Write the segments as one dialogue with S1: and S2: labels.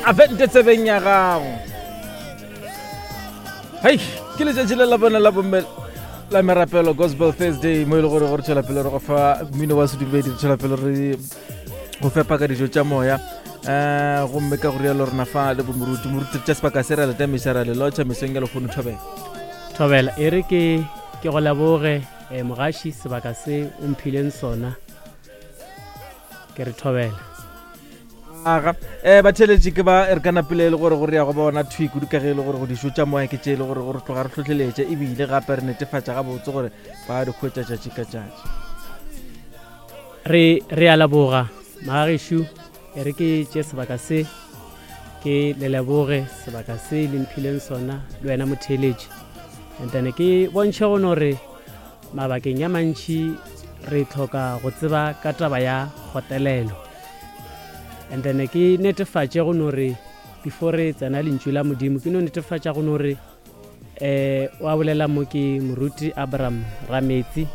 S1: A vente tsebeng ya gago. Hei, ke letšatši le la bone la bomme la merapelo Gospel Thursday mo e le gore gore tšwela pele re go fa mmino wa sedumedi re tšwela pele re go fepa ka dijo tša moya um gomme ka go rialo rena fa le bomoruti moruti re tša sebaka se ra letamiša ra le lotšha mesong ya lehono thobela.
S2: Thobela e re ke ke go leboge eh, mogaši sebaka se o mphileng sona ke re thobela.
S1: Aga um batheeletši ke ba re ka napile e le gore gore ya go bona thwi kudu ka ge e le gore go dišo tša moya ke tše e le gore gore tloga re hlohleletše ebile gape re netefatša gabotse gore ba di hwetša tšatši ka tšatši.
S2: Re re a leboga magagešo e re ke tše sebaka se ke le leboge sebaka se le mphileng sona le wena motheeletši and then ke bontšhe go no re mabakeng a mantši re tlhoka go tseba ka taba ya kgotelelo and then ke netefatše go no re before re tsena lentšu la modimo ke no netefatša go no re eh wa bolela mo ke moruti Abraham Rametsi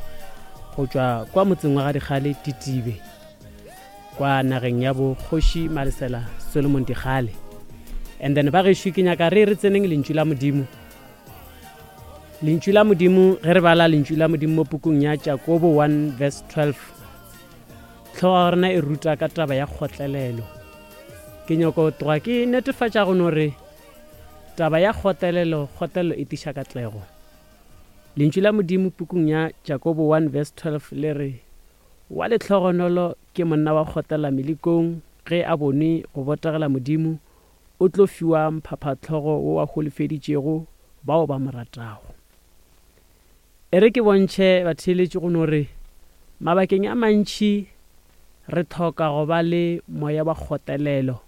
S2: go tšwa kwa motseng wa ga Dikgale Titibe kwa nageng ya bo kgoši Malesela Solomon Dikgale and then ba gešo ke nyaka re re tseneng lentšu la modimo lentšu la modimo ge re bala lentšu la modimo mo pukung ya Jakobo 1 verse 12 tlhogo ya rena e ruta ka taba ya kgotlelelo ke nyoko tloga ke netefatša go no re Taba ya kgotelelo, kgotelelo e tiša katlego. Lentšu la Modimo pukung ya Jakobo 1 verse 12 le re, Wa lehlogonolo ke monna wa kgotlela melekong, ge a bonwe go botegela Modimo, o tlo fiwa mphaphahlogo wo a holofeditšego bao ba mo ratago. E re ke bontšhe batheeletši go no re, mabakeng a mantši re hloka go ba le moya wa kgotelelo,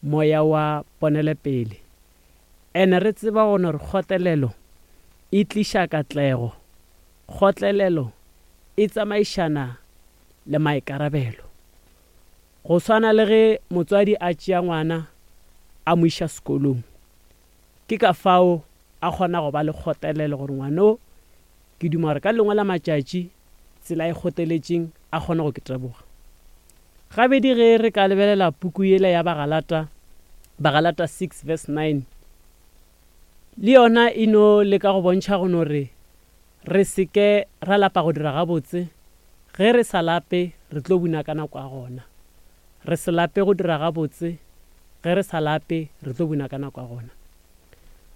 S2: moya wa ponelepele. Ene re tseba gona gore kgotlelelo e tliša katlego. Kgotlelelo e tsamaišana le maikarabelo. Go swana le ge motswadi a tšea ngwana a mo iša sekolong. Ke ka fao a kgona go ba le kgotlelelo gore ngwana o ke duma gore ka lengwe la matšatši tsela e kgoteletšeng a kgone go ke teboga. Gabedi ge re ka lebelela puku yela ya Bagalata, Bagalata 6 verse 9, le yona e no leka go bontšha go no re re se ke ra lapa go dira gabotse, ge re sa lape re tlo buna ka nako ya gona. Re se lape go dira gabotse, ge re sa lape re tlo buna ka nako ya gona.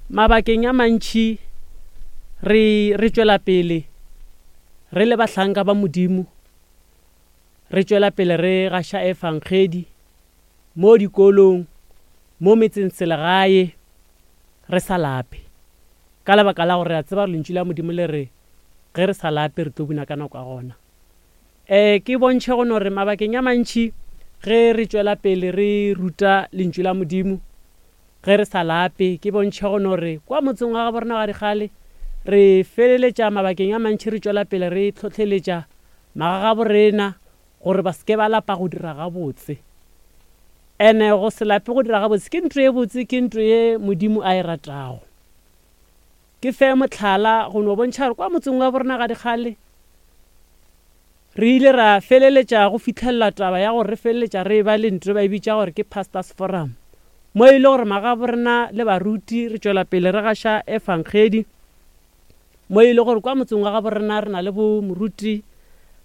S2: Mabakeng a mantši re re tšwela pele re le bahlanka ba Modimo, re tšwela pele re gaša efangedi mo dikolong, mo metsengselegae, re sa lape. Ka lebaka la gore re a tseba gore Lentšu la Modimo le re ge re sa lape re tlo buna ka nako ya gona. E, ke bontšhe go no re mabakeng a mantši ge re tšwela pele re ruta Lentšu la Modimo, ge re sa lape, ke bontšhe go no re kwa motseng wa gabo rena wa Dikgale re feleletša mabakeng a mantši re tšwela pele re hlohleletša magagabo rena gore ba se ke ba lapa go dira gabotse. Ene go se lape go dira gabotse ke ntho ye botse, ke ntho ye Modimo a e ratago. Ke fe mohlala go no bontšha gore kwa motseng wa borena ga Dikgale re ile ra feleletša go fihlelela taba ya gore re feleletša re eba le ntho ba e bitša gore ke Pastors Forum mo e le gore magabo rena le baruti re tšwela pele re gaša efangedi mo e le gore kwa motseng wa gabo rena re na le bo moruti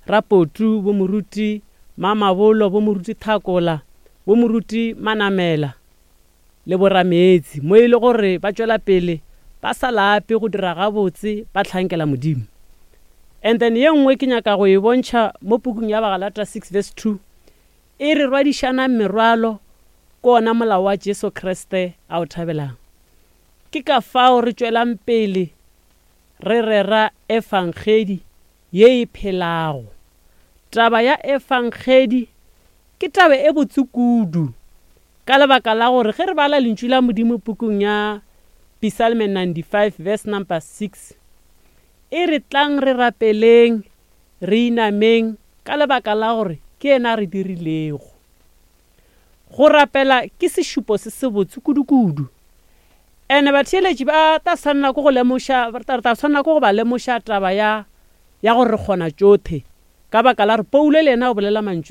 S2: Rapotu, bo moruti Mamabolo, bo moruti Thakola, bo moruti Manamela. le borameetsi, mo e le gore ba tšwela pele ba sa lape go dira gabotse ba hlankela Modimo. And then ye nngwe ke nyaka go e bontšha mo pukung ya Bagalata 6 verse 2, e re rwadišanang merwalo ke ona molao wa Jesu Kriste a o thabelang. Ke ka fao re tšwelang pele re rera efangedi ye e phelago. Taba ya efangedi ke taba e botse kudu. Ka lebaka la gore ge re bala Lentšu la Modimo pukung ya Psalme 95 verse number 6, e re tlang re rapeleng, re inameng ka lebaka la gore ke yena a re dirilego. Go rapela ke sešupo se sebotse kudu-kudu. Ene batheeletši ba tla swanela ke go lemoša, re tla swanela ke go ba lemoša taba ya ya gore re kgona tšohle, ka baka la gore Paulo le yena o bolela mantšu a.